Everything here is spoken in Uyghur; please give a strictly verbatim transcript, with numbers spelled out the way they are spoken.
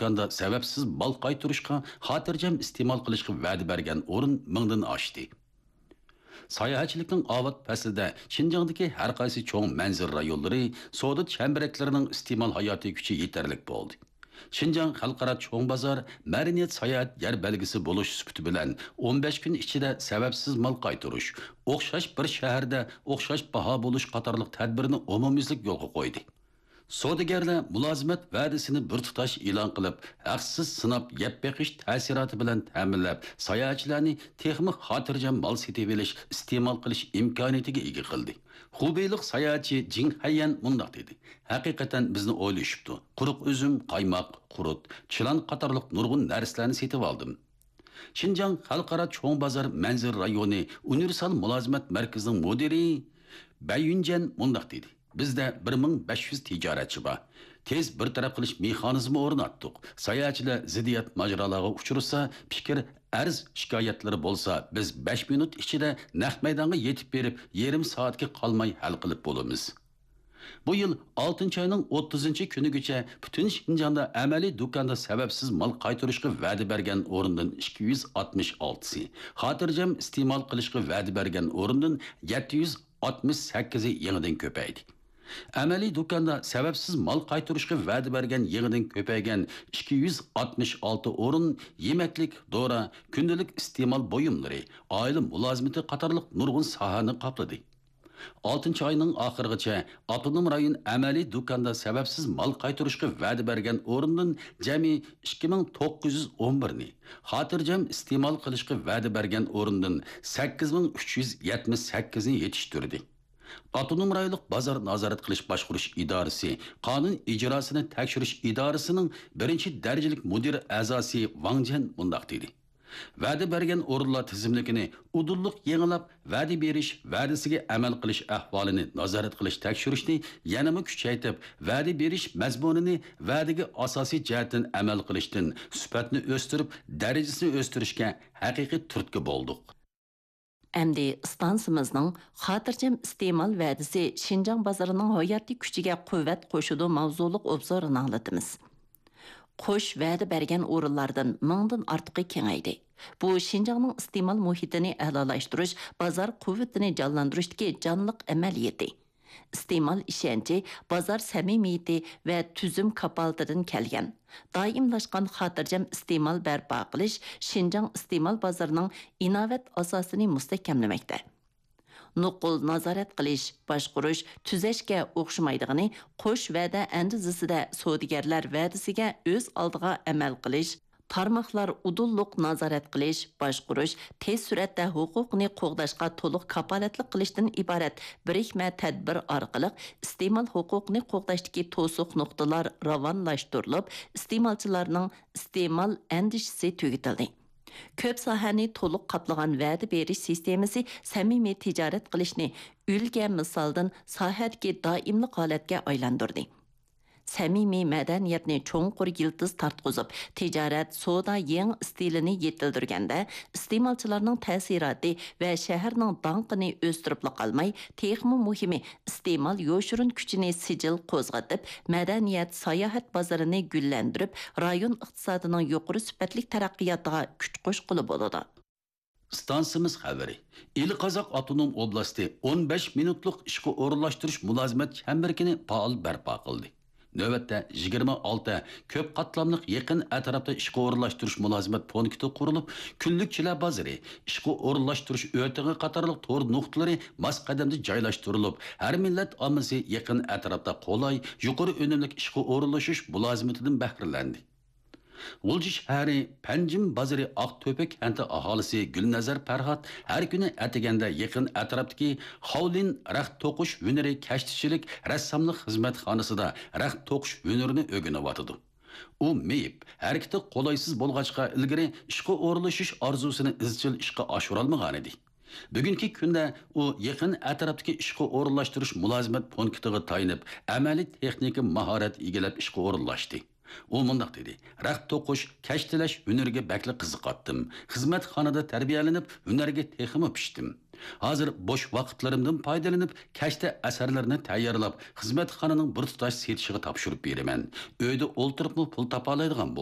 دۇكاندا سەۋەبسىز مال قايتۇرۇشقا، خاتىرجەم ئىستېمال قىلىشقا ۋەدە بەرگەن ئورۇن مىڭدىن ئاشتى. ساياھەتچىلىكنىڭ ئاۋات پەسلىدە شىنجاڭدىكى ھەر قايسى چوڭ مەنزىرە رايونلىرى، سودا چەمبىرەكلىرىنىڭ ئىستېمال ھاياتىي كۈچى يېتەرلىك بولدى. شىنجاڭ خەلقئارا چوڭ بازار مەدەنىيەت ساياھەت يەر بەلگىسى بولۇش سۈپىتى بىلەن ئون بەش كۈن ئىچىدە سەۋەبسىز مال قايتۇرۇش، ئوخشاش بىر شەھەردە ئوخشاش باھا بولۇش قاتارلىق تەدبىرنى ئومۇميۈزلۈك يولغا قويدى. سودىگەرلەر مۇلازىمەت ۋەدىسىنى بىر تۇتاش ئېلان قىلىپ، ھەقسىز سىناپ يەپ بېقىش تەسىراتى بىلەن تەمىنلەپ، ساياھەتچىلەرنى تېخىمۇ خاتىرجەم مال سېتىۋېلىش، ئىستېمال قىلىش ئىمكانىيىتىگە ئىگە قىلدى. خۇبېيلىق ساياھەتچى جىڭ خەييەن مۇنداق دېدى: «ھەقىقەتەن بىزنى ئويلىشىپتۇ. قۇرۇق ئۈزۈم، قايماق، قۇرۇت، چىلان قاتارلىق نۇرغۇن نەرسىلەرنى سېتىۋالدىم.» شىنجاڭ خەلقئارا چوڭ بازار مەنزىرە رايونى ئۇنىۋېرسال مۇلازىمەت مەركىزىنىڭ مۇدىرى بەي يۈنجەن مۇنداق دېدى: «بىزدە بىر مىڭ بەش يۈز تىجارەتچى بار. تېز بىر تەرەپ قىلىش مېخانىزمى ئورناتتۇق. ساياھەتچىلەر زىددىيەت ماجىرالارغا ئۇچرىسا، پىكىر، ئەرز، شىكايەتلىرى بولسا، بىز بەش مىنۇت ئىچىدە نەق مەيدانغا يېتىپ بېرىپ، يېرىم سائەتكە قالماي ھەل قىلىپ بولىمىز.» بۇ يىل ئالتىنچى ئاينىڭ ئوتتۇزىنچى كۈنىگىچە پۈتۈن شىنجاڭدا ئەمەلىي دۇكاندا سەۋەبسىز مال قايتۇرۇشقا ۋەدە بەرگەن ئورۇندىن ئىككى يۈز ئاتمىش ئالتىسى، خاتىرجەم ئىستېمال قىلىشقا ۋەدە بەرگەن ئورۇندىن يەتتە يۈز ئاتمىش سەككىزى يېڭىدىن كۆپەيدى. ئەمەلىي دۇكاندا سەۋەبسىز مال قايتۇرۇشقا ۋەدە بەرگەن يېڭىدىن كۆپەيگەن ئىككى يۈز ئاتمىش ئالتە ئورۇن يېمەكلىك، دورا، كۈندىلىك ئىستېمال بۇيۇملىرى، ئائىلە مۇلازىمىتى قاتارلىق نۇرغۇن ساھەنى قاپلىدى. ئالتىنچى ئاينىڭ ئاخىرىغىچە ئاپتونوم رايون ئەمەلىي دۇكاندا سەۋەبسىز مال قايتۇرۇشقا ۋەدە بەرگەن ئورۇندىن جەمئىي ئىككى مىڭ توققۇز يۈز ئون بىرنى، خاتىرجەم ئىستېمال قىلىشقا ۋەدە بەرگەن ئورۇندىن سەككىز مىڭ ئۈچ يۈز يەتمىش سەككىزنى يېتىشتۈردى. ئاپتونوم رايونلۇق بازار نازارەت قىلىش باشقۇرۇش ئىدارىسى قانۇن ئىجراسىنى تەكشۈرۈش ئىدارىسىنىڭ بىرىنچى دەرىجىلىك مۇدىر ئەزاسى ۋاڭ جيەن مۇنداق دېدى: «ۋەدە بەرگەن ئورۇنلار تىزىملىكىنى ئۇدۇللۇق يېڭىلاپ، ۋەدە بېرىش، ۋەدىسىگە ئەمەل قىلىش ئەھۋالىنى نازارەت قىلىش تەكشۈرۈشنى يەنىمۇ كۈچەيتىپ، ۋەدە بېرىش مەزمۇنىنى ۋەدىگە ئاساسىي جەھەتتىن ئەمەل قىلىشتىن سۈپەتنى ئۆستۈرۈپ، دەرىجىسىنى ئۆستۈرۈشكە ھەقىقىي تۈرتكە بولدۇق.» ئەمدى ئىستانسىمىزنىڭ خاتىرجەم ئىستېمال ۋەدىسى شىنجاڭ بازىرىنىڭ ھاياتىي كۈچىگە قۇۋۋەت قوشىدۇ ماۋزۇلۇق ئوبزورىنى ئاڭلىتىمىز. قوش ۋەدە بەرگەن ئورۇنلاردىن مىڭدىن ئارتۇقى كېڭەيدى. بۇ شىنجاڭنىڭ ئىستېمال مۇھىتىنى ئەلالاشتۇرۇش، بازار قۇۋۋىتىنى جانلاندۇرۇشتىكى جانلىق ئەمەلىيىتى. ئىستېمال ئىشەنچى، بازار سەمىمىيىتى ۋە تۈزۈم كاپالىتىدىن كەلگەن. دائىملاشقان خاتىرجەم ئىستېمال بەرپا قىلىش شىنجاڭ ئىستېمال بازىرىنىڭ ئىناۋەت ئاساسىنى مۇستەھكەملىمەكتە. نوقۇل نازارەت قىلىش، باشقۇرۇش، تۈزەشكە ئوخشىمايدىغىنى، قوش ۋەدە ئەندىزىسىدە سودىگەرلەر ۋەدىسىگە ئۆز ئالدىغا ئەمەل قىلىش، تارماقلار ئۇدۇللۇق نازارەت قىلىش، باشقۇرۇش، تېز سۈرئەتتە ھوقۇقنى قوغداشقا تولۇق كاپالەتلىك قىلىشتىن ئىبارەت بىرىكمە تەدبىر ئارقىلىق ئىستېمال ھوقۇقىنى قوغداشتىكى توسۇق نۇقتىلار راۋانلاشتۇرۇلۇپ، ئىستېمالچىلارنىڭ ئىستېمال ئەندىشىسى تۈگىتىلدى. كۆپ ساھەنى تولۇق قاپلىغان ۋەدە بېرىش سىستېمىسى سەمىمىي تىجارەت قىلىشنى ئۈلگە مىسالدىن ساھەدىكى دائىملىق ھالەتكە ئايلاندۇردى. سەمىمىي مەدەنىيەتنى چوڭقۇر يىلتىز تارتقۇزۇپ، تىجارەت، سودا يېڭى ئىستىلىنى يېتىلدۈرگەندە، ئىستېمالچىلارنىڭ تەسىراتى ۋە شەھەرنىڭ داڭقىنى ئۆستۈرۈپلا قالماي، تېخىمۇ مۇھىمى، ئىستېمال يوشۇرۇن كۈچىنى سىجىل قوزغىتىپ، مەدەنىيەت، ساياھەت بازىرىنى گۈللەندۈرۈپ، رايون ئىقتىسادىنىڭ يۇقىرى سۈپەتلىك تەرەققىياتىغا كۈچ قوشقىلى بولىدۇ. ئىستانسىمىز خەۋىرى. ئىلى قازاق ئاپتونوم ئوبلاستى ئون بەش مىنۇتلۇق ئىشقا ئورۇنلاشتۇرۇش مۇلازىمەت چەمبىرىكىنى پائال بەرپا قىلدى. نۆۋەتتە يىگىرمە ئالتە كۆپ قاتلاملىق يېقىن ئەتراپتا ئىشقا ئورۇنلاشتۇرۇش مۇلازىمەت پونكىتى قۇرۇلۇپ، كۈنلۈكچىلەر بازىرى، ئىشقا ئورۇنلاشتۇرۇش ئۆتىقى قاتارلىق تور نۇقتىلىرى ماس قەدەمدە جايلاشتۇرۇلۇپ، ھەر مىللەت ئاممىسى يېقىن ئەتراپتا قولاي، يۇقىرى ئۈنۈملۈك ئىشقا ئورۇنلىشىش مۇلازىمىتىدىن بەھرىلەندى. غۇلجا شەھىرى پەنجىم بازىرى ئاقتۆپە كەنتى ئاھالىسى گۈلنەزەر پەرھات ھەر كۈنى ئەتىگەندە يېقىن ئەتراپتىكى خاۋلىن رەخت توقۇش ھۈنىرى كەشتىچىلىك رەسساملىق خىزمەتخانىسىدا رەخت توقۇش ھۈنىرىنى ئۆگىنىۋاتىدۇ. ئۇ مېيىپ، ھەرىكىتى قولايسىز بولغاچقا، ئىلگىرى ئىشقا ئورۇنلىشىش ئارزۇسىنى ئىزچىل ئىشقا ئاشۇرالمىغانىدى. بۈگۈنكى كۈندە ئۇ يېقىن ئەتراپتىكى ئىشقا ئورۇنلاشتۇرۇش مۇلازىمەت پونكىتىغا تايىنىپ، ئەمەلىي تېخنىكا ماھارەت ئىگىلەپ ئىشقا ئورۇنلاشتى. ئۇ مۇنداق دېدى: «رەخت توقۇش، كەشتىلەش ھۈنىرىگە بەكلا قىزىقاتتىم. خىزمەتخانىدا تەربىيەلىنىپ، ھۈنەرگە تېخىمۇ پىشتىم. ھازىر بوش ۋاقىتلىرىمدىن پايدىلىنىپ، كەشتە ئەسەرلىرىنى تەييارلاپ، خىزمەتخانىنىڭ بىر تۇتاش سېتىشىغا تاپشۇرۇپ بېرىمەن. ئۆيدە ئولتۇرۇپمۇ پۇل تاپالايدىغان بولدۇم.»